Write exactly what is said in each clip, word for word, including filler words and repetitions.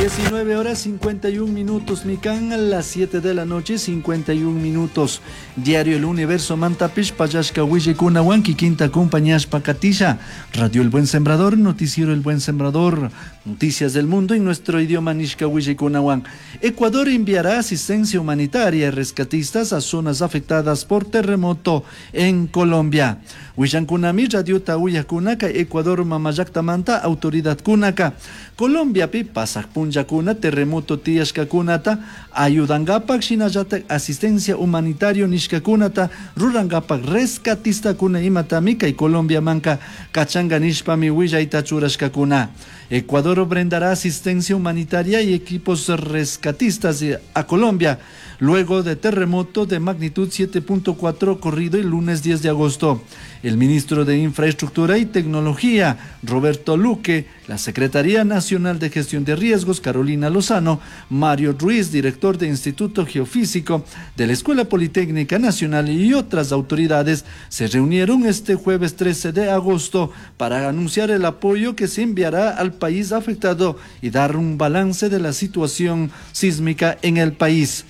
diecinueve horas cincuenta y un minutos, Mikan, a las siete de la noche, cincuenta y un minutos. Diario El Universo, Mantapish, Payashka, Willikuna, Wanki, Quinta, Compañías, Pacatilla, Radio El Buen Sembrador, Noticiero El Buen Sembrador, Noticias del Mundo en nuestro idioma Nishka, Willikuna, Wan. Ecuador enviará asistencia humanitaria y rescatistas a zonas afectadas por terremoto en Colombia. Willankunami, Radio Tauya Kunaka, Ecuador, Mamayacta Manta, Autoridad Kunaka. Colombia pi pasak punllakuna terremoto tiyashkakunata ayudangapak shinallatak asistencia humanitario nishkakunata rurangapak rescatistakuna imatami kay Colombia manka kachanga nishpami willayta churashkakuna. Ecuador brindará asistencia humanitaria y equipos rescatistas a Colombia luego de terremoto de magnitud siete punto cuatro ocurrido el lunes diez de agosto. El ministro de Infraestructura y Tecnología, Roberto Luque, la Secretaría Nacional de Gestión de Riesgos, Carolina Lozano, Mario Ruiz, director del Instituto Geofísico de la Escuela Politécnica Nacional y otras autoridades se reunieron este jueves trece de agosto para anunciar el apoyo que se enviará al país afectado y dar un balance de la situación sísmica en el país.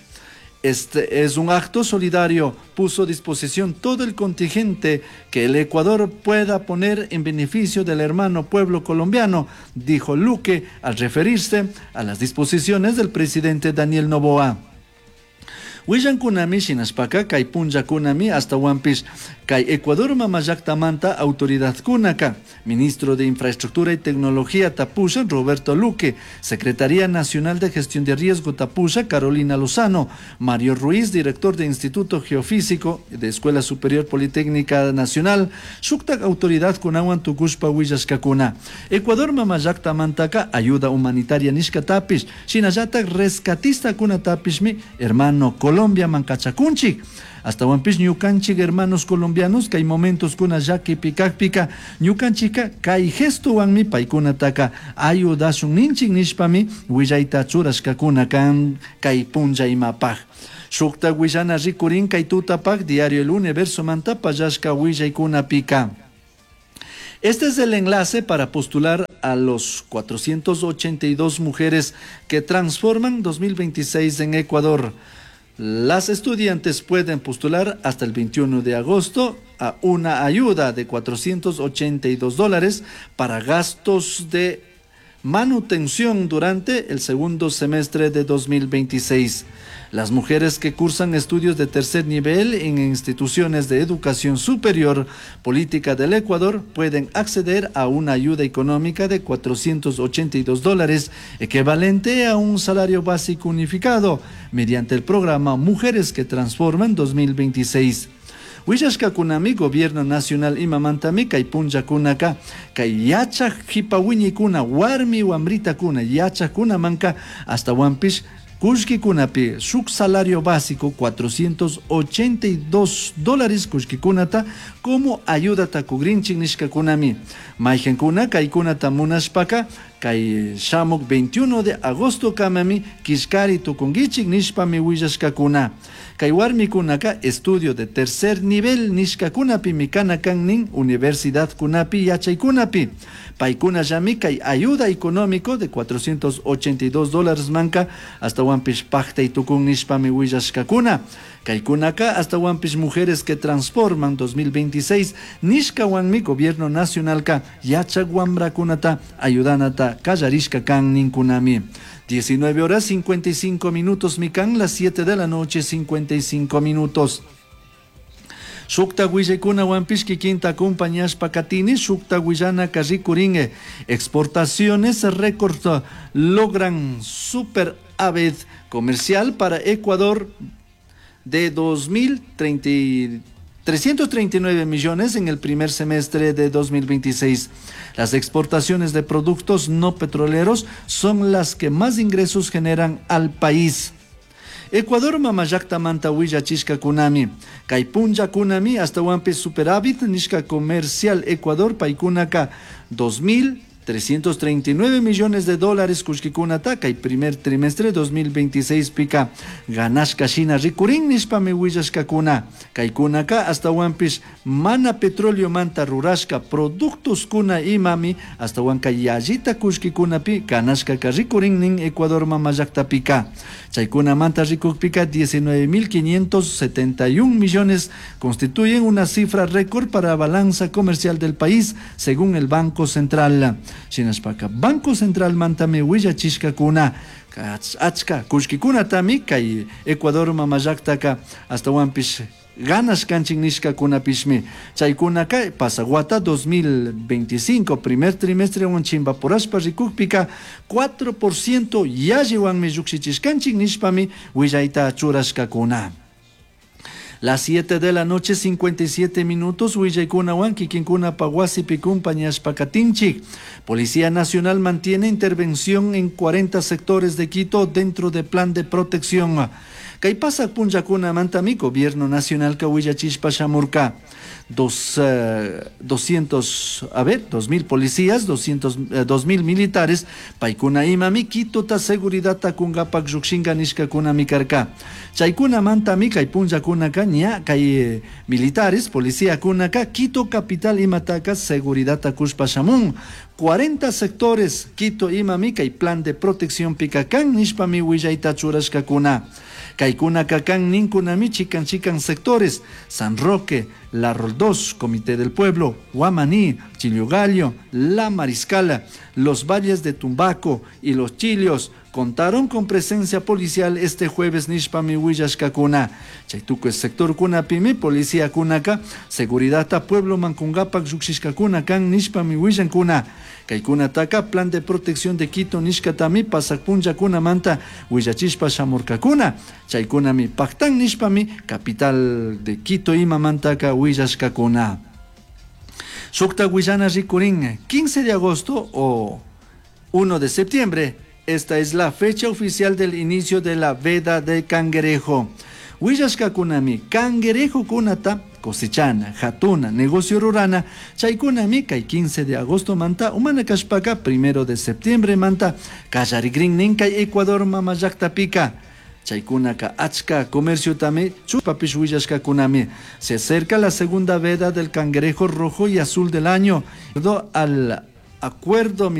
Este es un acto solidario, puso a disposición todo el contingente que el Ecuador pueda poner en beneficio del hermano pueblo colombiano, dijo Luque al referirse a las disposiciones del presidente Daniel Noboa. Willankunami shinashpaka kay punllakunami hasta wanpish kay Ecuador mamallaktamanta autoridad kunaka, ministro de Infraestructura y Tecnología Tapusha Roberto Luque, Secretaría Nacional de Gestión de Riesgo Tapusha Carolina Lozano, Mario Ruiz, director de Instituto Geofísico de Escuela Superior Politécnica Nacional, shuktak autoridad kunawan tukushpa willashkakuna. Ecuador mamallaktamantaka ayuda humanitaria nishka tapish, shinallatak rescatista kuna tapishmi, hermano Colombia mankachakunchik. Hasta wanpish ñukanchik hermanos colombianos kay momentos kuna llaki pikakpika ñukanchika kay gestowanmi paykunataka ayudashun ninchik nishpami willayta churashkakuna kan kay punlla imapaj. Shukta willana rikurin kay tutapak diario El Universo manta pallashka willaykunapika. Este es el enlace para postular a los cuatrocientos ochenta y dos mujeres que transforman dos mil veintiséis en Ecuador. Las estudiantes pueden postular hasta el veintiuno de agosto a una ayuda de cuatrocientos ochenta y dos dólares para gastos de manutención durante el segundo semestre de dos mil veintiséis. Las mujeres que cursan estudios de tercer nivel en instituciones de educación superior política del Ecuador pueden acceder a una ayuda económica de cuatrocientos ochenta y dos dólares, equivalente a un salario básico unificado, mediante el programa Mujeres que Transforman dos mil veintiséis. Willashkakunami Gobierno Nacional imamantami kay punllakunaka kay yachak jipawiñikuna warmi wambritakuna yachakunamanka hasta wanpish kullkikunapi shuk salario básico cuatrocientos ochenta y dos dólares kullkikunata como ayuda takugrinchik nishkakunami. Mayqankuna kaykunata munashpaka kay shamuk veintiuno de agosto kamami kishkari tukunkichik nishpami willashkakuna. Kay warmikunaka estudio de tercer nivel nishkakunapi mikana kan nin universidad kunapi yachaykunapi. Paykuna llami kay ayuda económico de cuatrocientos ochenta y dos dólares manka hasta wanpish paktay tukun nishpami willashkakuna. Kaykunaka hasta wanpish mujeres que transforman dos mil veintiséis nishkawanmi gobierno nacionalka yachak wambrakunata ayudanata kallarishka kan ninkunami. diecinueve horas cincuenta y cinco minutos mikan, las siete de la noche cincuenta y cinco minutos. Shukta willaykuna wanpish kikinta acompañashpa katini, shukta willana karrikuringe. Exportaciones récord logran superávit comercial para Ecuador de dos mil treinta y trescientos treinta y nueve millones en el primer semestre de dos mil veintiséis. Las exportaciones de productos no petroleros son las que más ingresos generan al país. Ecuador mamallakta manta willachishka kunami. Kay punlla kunami hasta wampi superávit nishka comercial Ecuador paykunaka dos mil trescientos treinta y nueve millones de dólares kullkikunata kay primer trimestre dos mil veintiséis pika ganashka shina rikurin nishpami willashkakuna. Kaykunaka ashtawanpish mana petroleomanta rurashka productoskuna imami ashtawanka yallita kullkikunapi ganashkaka rikurin nin Ecuador mama llaktapika. Chaykunamanta rikukpika diecinueve mil quinientos setenta y un millones constituyen una cifra récord para balanza comercial del país, según el Banco Central. Shinashpaka Banco Central mantami willachishkakuna achka kullkikunatami kay Ecuador mama llaktaka ashtawanpish ganas kanchin nishkakunapishmi. Chaykunaka pasaguata dos mil veinticinco primer trimestre wan chimbapurashpa rikukpika cuatro por ciento yalliwanmi llukshichishkanchin nishpami willayta churashkakuna. Las siete de la noche, cincuenta y siete minutos, willaykunawan kikinkuna wasipi kumpañashpa katinchik. Policía Nacional mantiene intervención en cuarenta sectores de Quito dentro de plan de protección. Kay pasak punllakunamantami Gobierno Nacional ka willachishpa shamurka. Dos, eh, doscientos, a ver, dos mil policías, doscientos, eh, dos mil militares, paykuna imami Quitota seguridad kungapak llukshinka nishkakunami karka. Chaykunamantami kay punllakunaka ña kay, eh, militares, policía kunaka Quito capital imataka seguridad kushpa shamun. cuarenta sectores Quito imami kay plan de protección pikakan nishpami willayta churashkakuna. Kaykunaka kan ninkunami chikan chikan sectores, San Roque, La Roldós, Comité del Pueblo, Guamaní, Chillogallo, La Mariscala, los valles de Tumbaco y los Chilios contaron con presencia policial este jueves nishpami willashkakuna. Chaytuku sector kunapimi policía kunaka, seguridad ta pueblo mankungapak llukshishkakuna kan nishpami willankuna. Kaykunataka plan de protección de Quito nishkatami pasakpunllakunamanta willachishpa shamurkakuna. Chaykunami paktan nishpami capital de Quito imamantaka willashkakuna. Shukta willana rikurin quince de agosto o uno de septiembre. Esta es la fecha oficial del inicio de la veda de cangrejo. Willashkakunami cangrejo kunata cosechana, jatuna, negocio rurana, chaykunami kay quince de agosto manta, umana kashpaka primero de septiembre manta, kallarigrin nin kay Ecuador mama llaktapika. Chaykunaka achka comercio tame, chupapish willashkakunami. Se acerca la segunda veda del cangrejo rojo y azul del año. Al acuerdo